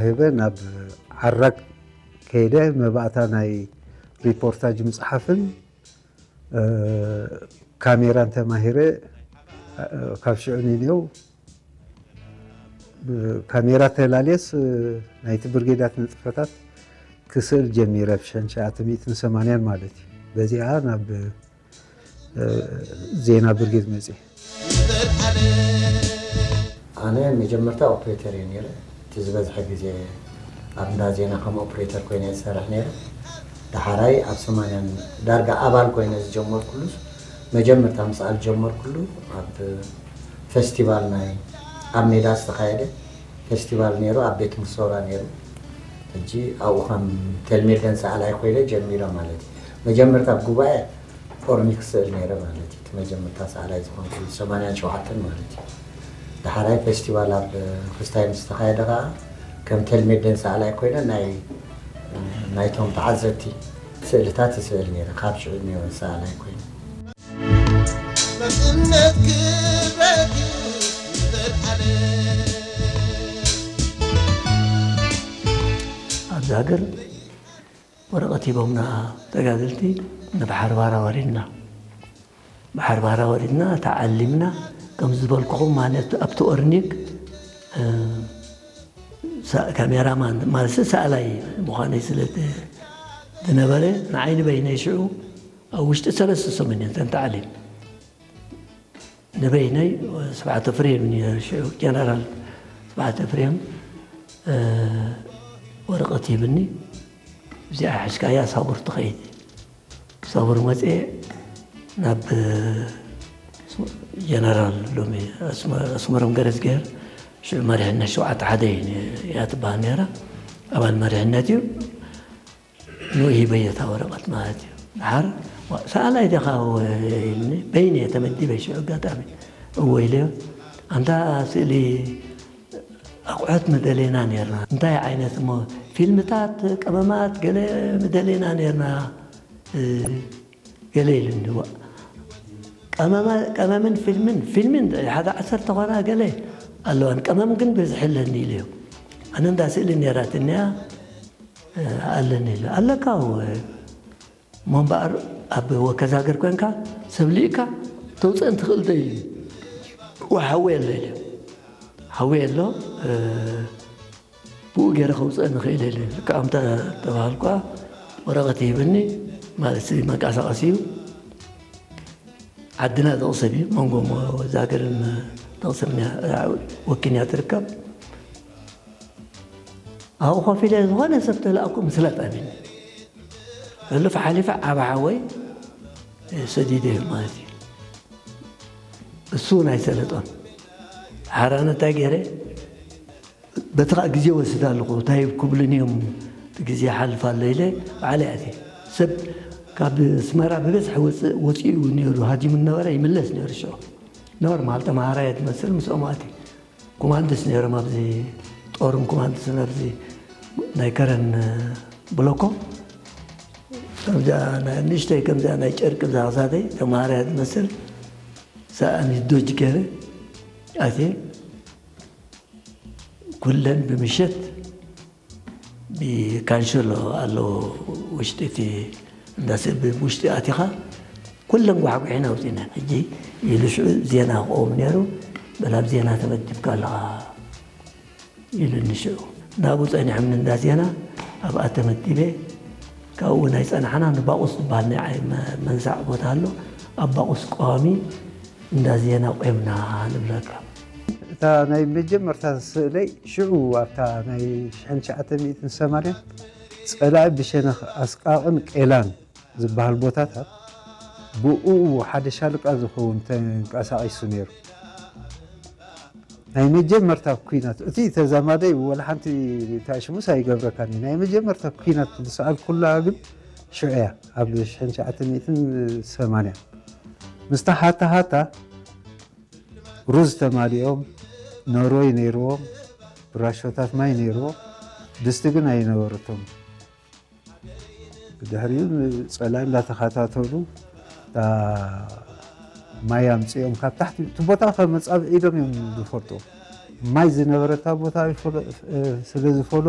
ሄበ ናብ ዓራግ ከይደ መባእታ ናይ ሪፖርታጅ ምፅሓፍን ካሜራን ተማሂረ። ካብ ሽዑ ንኔው ካሜራ ተላልየስ ናይቲ ብርጌዳት ንጥፈታት ክስእል ጀሚረ፣ ብ ሽሕን ትሽዓተ ሚእትን ሰማንያን ማለት እዩ። በዚኣ ናብ ዜና ብርጌድ መፅእ። ኣነ መጀመርታ ኦፕሬተር እየ ነይረ። እቲ ዝበዝሐ ግዜ ኣብ እንዳ ዜና ከም ኦፕሬተር ኮይነ እየ ዝሰርሕ ነይረ። ዳሓራይ ኣብ ሰማንያን ዳርጋ ኣባል ኮይነ ዝጀመርኩሉ፣ መጀመርታ ምስኣል ጀመርኩሉ ኣብ ፈስቲቫል ናይ ኣብ ሜዳ ዝተኻየደ ፈስቲቫል ነይሩ፣ ኣብ ቤት ሙሶራ ነይሩ። ሕጂ ኣብኡ ከም ቴልሜደን ሰኣላይ ኮይነ ጀሚረ ማለት እዩ። መጀመርታ ኣብ ጉባኤ ኦርኒክ ስእል ነይረ ማለት እዩ። እቲ መጀመርታ ሰኣላይ ዝኾንኩሉ ሰማንያን ሸውዓተን ማለት እዩ። ዳሓራይ ፈስቲቫል ኣብ ክስታይ ምስ ተኻየደ ከዓ ከም ቴልሜደን ሰኣላይ ኮይነ ናይ ናይቶም ተዓዘብቲ ስእልታት ይስእል ነይረ። ካብ ሽዑ ነይረ ሰኣላይ ኮይነ። ኣብዚ ሃገር ወረቐት ሂቦምና ተጋደልቲ ንባሕሪ ባራ ወሪድና። ባሕሪ ባራ ወሪድና ተዓሊምና። ከም ዝበልኩኹም ማለት ኣብቲ ኦርኒክ ካሜራማን ማለት ሰኣላይ ምዃነይ ስለ ዝነበረ ንዓይ ንበይነይ ሽዑ ኣብ ውሽጢ ሰለስተ ሰሙን እየን ተን ተዓሊም ንበይነይ ስብሓት ኤፍሬም ነይሩ ሽዑ ጀነራል ስብሓት ኤፍሬም ወረቐት ሂብኒ። እዚኣ ሒዝካያ ሳቡር ትኸይድ። ሳቡር መፅኤ ናብ ጀነራል ሎሚ ኣስመሮም ገረዝግሄር ሽዑ መሪሕነት ሸውዓተ ሓደ እያ ትበሃል ነይራ። ኣባል መሪሕነት እዩ። ንኡ ሂበዮ እታ ወረቐት ማለት እዩ። ድሓር ሰኣላይ ዲኻ ኢልኒ። በይነ እየ ተመዲበ ሽዑ ኣጋጣሚ እወ ኢለዮ። ኣንታ ስእሊ ኣቑሑት ምደሌና ነርና። እንታይ ዓይነት እሞ ፊልምታት፣ ቀመማት ገለ ምደሌና ነርና ገለ ኢሉኒ። ቀመምን ፊልምን ፊልምን ሓደ ዓሰርተ ኮና ገለ ኣለዋን ቀመም ግን ብዝሕ ኣለኒ ኢለዮ። ኣነ እንዳ ስእሊ ነራትንያ ኣለኒ ኢለ ኣለካ እሞ እምበኣር ኣብ ወከዛገር ኮንካ ሰብ ልኢካ ተውፅአን ትኽእል ዶ ኢሉ። ሓወይ ኣሎ ኢለ ሓወይ ኣሎ ብኡ ገይረ ከውፅአን ንኽእል ኢለ ልክዓ ተባሃልኳ። ወረቐት ይህብኒ ማለት መንቀሳቐሲ እዩ። ዓድና ዝቕሰብ እዩ መንጎ ወዛገርን ተቕሰብን ወኪንያ ትርከብ። ኣብኡ ኮፍ ኢለ ዝኾነ ሰብ ተላእኩ ምስላጥ ኣቢኒ ሕሉፍ ሓሊፈ ዓባ ሓወይ ሰዲደ እዩ ማለት እዩ። እሱ እውን ኣይሰለጦን። ሓራነ እንታይ ገይረ በቲ ከዓ ግዜ ወስድ ኣለኹ እንታይ ክብሉን እዮም እቲ ግዜ ሓልፍ ኣሎ ኢለ ባዕለ ኣትየ ሰብ ካብ ስመራ ብበዝሒ ወፅእ ወፂኡ ነይሩ ሃዲሙ ነበረ ይምለስ ነይሩ ሽዑ ኖርማል ተምሃራየ ትመስል ምስኦም ኣትየ ኩማንድስ ነይሮም ኣብዚ ጦርን ኩማንድስን ኣብዚ ናይ ከረን ብሎኮ ከምዚኣ ናይ ንእሽተይ ከምዚኣ ናይ ጨርቂ ብዛዕሳተይ ተምሃራያ ትመስል ሰኣኒ ዶጅ ገይረ ኣትየ ኩለን ብምሸት ብካንሸሎ ኣለዎ ውሽጢ እቲ እንዳ ስእሊ ውሽጢ ኣቲኻ ኩለን ጓሕጒሒና ኣውፂእናን ሕጂ ኢሉ ሽዑ ዜና ክኸውን ነይሩ በል ኣብ ዜና ተመዲብካ ኣለኻ ኢሉኒ ሽዑ ናብኡ ፀኒሖምኒ እንዳ ዜና ኣብኣ ተመዲበ ካብኡ እውን ኣይፀናሕናን ባቑስ ዝበሃል ናይ ዓይ መንሳዕ ቦታ ኣሎ ኣብ ባቑስ ቀዋሚ እንዳ ዜና ቆምና ንብለካ። እታ ናይ መጀመርታ ስእለይ ሽዑ ኣብታ ናይ ሽሕን ትሽዓተ ሚእትን ሰማንያን ጸላኢ ብሸነኽ ኣስቃቕን ቄላን ዝበሃል ቦታታት ብኡ ሓደ ሻለቃ ዝኸውን ተንቀሳቒሱ ነይሩ። ናይ መጀመርታ ኲናት እቲ ተዛማዳይ ወላ ሓንቲ ታሽሙስ ኣይገብረካን እዩ። ናይ መጀመርታ ኲናት ዝሰኣልኩላ ግን ሽዑ እያ ኣብ ሽሕን ትሽዓተ ሚእትን ሰማንያን ምስታ ሃታ ሃታ ሩዝ ተማሊኦም ኖርወይ ነይርዎም ብራሾታት ማይ ነይርዎም ድስቲ ግን ኣይነበረቶም ድሕሪኡ ፀላኢ እንዳተኸታተሉ ማይ ኣምፅኦም ካብ ታሕቲ እቲ ቦታ ከመፃብዒዶም እዮም ዝፈልጡ ማይ ዝነበረታ ቦታ ስለ ዝፈለጡ